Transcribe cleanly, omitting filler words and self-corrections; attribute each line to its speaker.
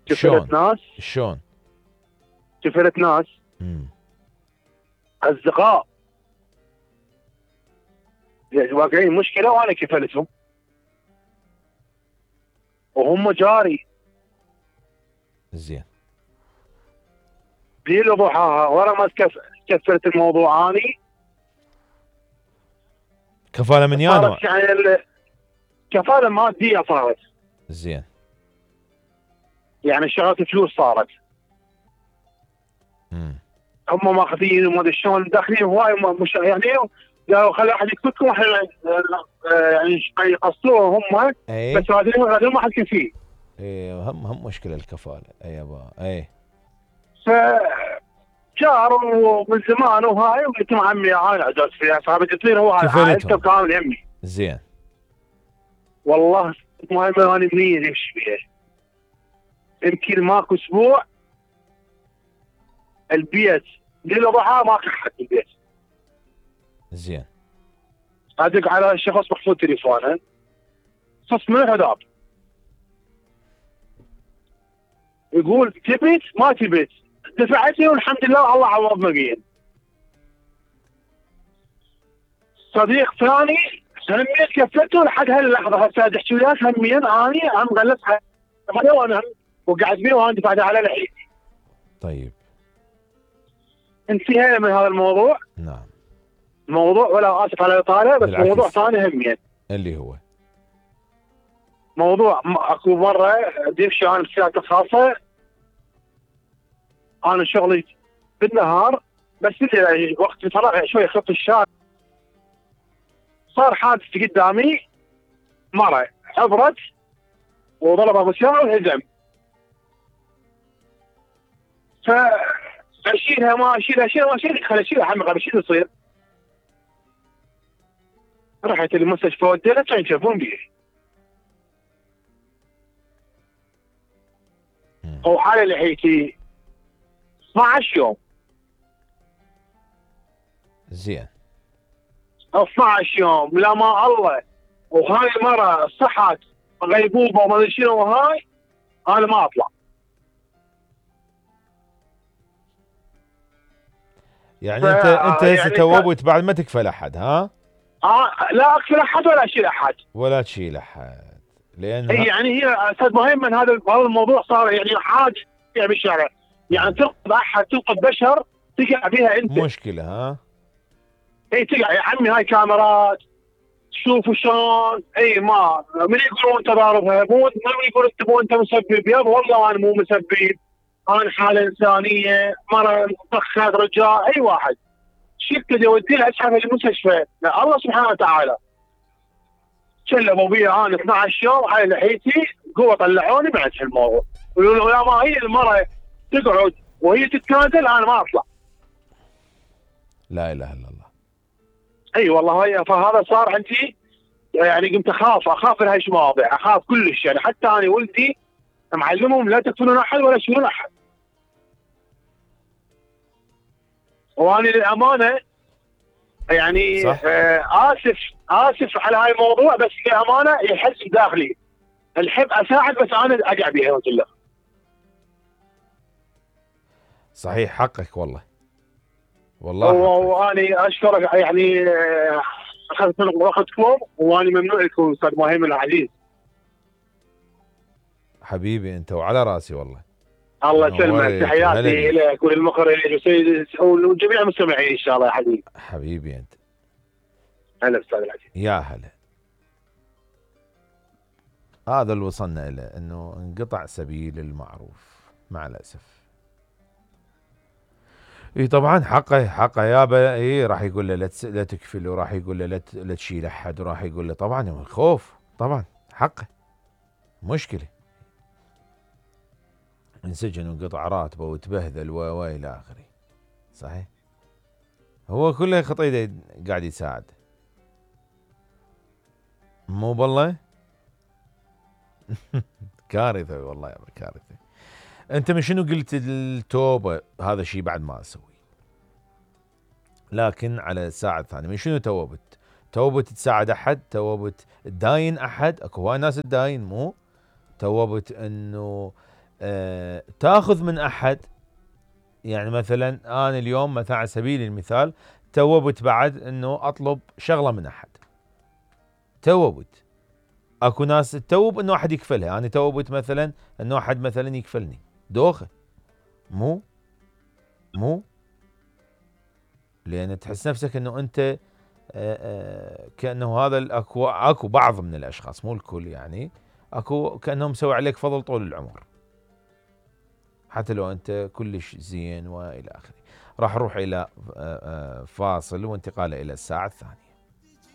Speaker 1: شفرت
Speaker 2: شلون
Speaker 1: ناس
Speaker 2: شلون؟
Speaker 1: شفرت ناس اصدقاء واقعين مشكله وانا كفلتهم وهم جاري.
Speaker 2: زين.
Speaker 1: ليل وضحاها ورا ما كفرت الموضوع اني.
Speaker 2: كفاله من يا نوع؟
Speaker 1: صارت يعني كفاله ماديه صارت.
Speaker 2: زين.
Speaker 1: يعني شغلت فلوس صارت. هم ماخذين وما ادري شلون داخلين هواي مش يعني قالوا خلي احد يكتبكم احنا يعني يقصوه هم.
Speaker 2: أي.
Speaker 1: بس هذول ما حد كفيه.
Speaker 2: اي هم مشكله الكفاله. اي يابا اي.
Speaker 1: ف جار ومن زمان وهاي وقلت له عمي انا عجزت فيها فبدي تصير هو عائلته كامل يمي.
Speaker 2: زين.
Speaker 1: والله ما انا منين يمشي فيها. يمكن ماكو اسبوع البيت ليله ضحى ماكو حد البيت.
Speaker 2: زين.
Speaker 1: ادق على الشخص محفوظ تليفونه صف من الهداب يقول تبيت ما تبيت دفعتني والحمد لله الله عوضنا بيه. صديق ثاني هميت كفته لحد هاللحظه هسه تحكي وياك هميا اني عم غلس هذا وانا وقعد بيه وانا دفعت على لحيتي.
Speaker 2: طيب
Speaker 1: انتهينا من هذا الموضوع.
Speaker 2: نعم.
Speaker 1: موضوع ولا اسف على الاطاله بس
Speaker 2: بالعكس.
Speaker 1: موضوع ثاني هميا
Speaker 2: اللي هو
Speaker 1: موضوع اكو مره ديمشي انا بسيارتي الخاصه. انا شغلي بالنهار بس اللي وقت الفراغ شوي خط الشارع صار حادث قدامي مره عبرت وضرب ابو سياره وانهزم. فاشيلها ما اشيلها خلي اشيلها عمي شو يصير؟ رحت المستشفى وديتها كانوا يشوفون بيه. وحالة لحيتي 12 يوم.
Speaker 2: زين.
Speaker 1: 12 يوم لا ما الله. وهاي المرة صحت غيبوبة وما ادري شنو وهاي انا ما اطلع.
Speaker 2: يعني انت هسه
Speaker 1: يعني
Speaker 2: توبت بعد ما تكفل احد ها؟
Speaker 1: لا اكفل احد ولا اشيل احد.
Speaker 2: ولا تشيل احد لان
Speaker 1: يعني هي استاذ مهم من هذا الموضوع صار يعني حاجه بالشارع. يعني تنقذ احد تنقذ بشر تقع بها انت.
Speaker 2: مشكله ها؟
Speaker 1: اي تقع يا عمي هاي كاميرات شوفوا شلون. اي ما من يقولون انت ضاربها مو من يقول انت مسبب يابا والله انا مو مسبب. انا حاله انسانيه مره طخت رجال اي واحد شفت اللي يوديها اسحب المستشفى الله سبحانه وتعالى. شلبوا بي انا 12 يوم على لحيتي قوه طلعوني بعد الموضوع. يقولوا يا ما هي المره تقعد وهي تتنازل انا ما اطلع.
Speaker 2: لا اله الا الله.
Speaker 1: اي والله هي فهذا صار عندي يعني قمت اخاف من هاي المواضيع اخاف كلش. يعني حتى انا ولدي معلمهم لا تقتلون احد ولا تشيلون احد. وانا للامانه يعني اسف على هاي الموضوع بس للامانه يحس بداخلي الحب اساعد بس انا اقع بها قلت له.
Speaker 2: صحيح حقك والله. والله
Speaker 1: وانا اشكرك يعني اخذت من وقتكم وانا ممنوع لكم استاذ مهم العزيز.
Speaker 2: حبيبي انت وعلى راسي والله.
Speaker 1: الله يسلمك تحياتي لك وللمخرج وجميع المستمعين ان شاء الله يا حبيبي.
Speaker 2: حبيبي انت.
Speaker 1: هلا استاذ العزيز.
Speaker 2: يا هلا. هذا اللي وصلنا له انه انقطع سبيل المعروف مع الاسف. اي طبعا حقه يابا. اي راح يقول له لا تكفل وراح يقول له لا تشيل احد وراح يقول له طبعا خوف طبعا حقه مشكله. انسجن وانقطع راتبه وتبهذل والى اخره. صحيح. هو كله خطيده قاعد يساعد. مو بالله. كارثه والله يا كارثه. انت من شنو قلت التوبه هذا الشيء بعد ما اسوي. لكن على الساعه الثانيه من شنو توبت؟ توبت تساعد احد؟ توبت تداين احد؟ اكو هواي ناس تداين مو؟ توبت انه تاخذ من احد، يعني مثلا انا اليوم مثلا على سبيل المثال توبت بعد انه اطلب شغله من احد، توبت، اكو ناس تتوب انه احد يكفلها، انا توبت مثلا انه احد مثلا يكفلني دوخه، مو لان تحس نفسك انه انت كانه هذا اكو بعض من الاشخاص مو الكل يعني، اكو كانهم مسوي عليك فضل طول العمر، حتى لو انت كلش زين والى اخره. راح نروح الى فاصل وانتقال الى الساعه الثانيه.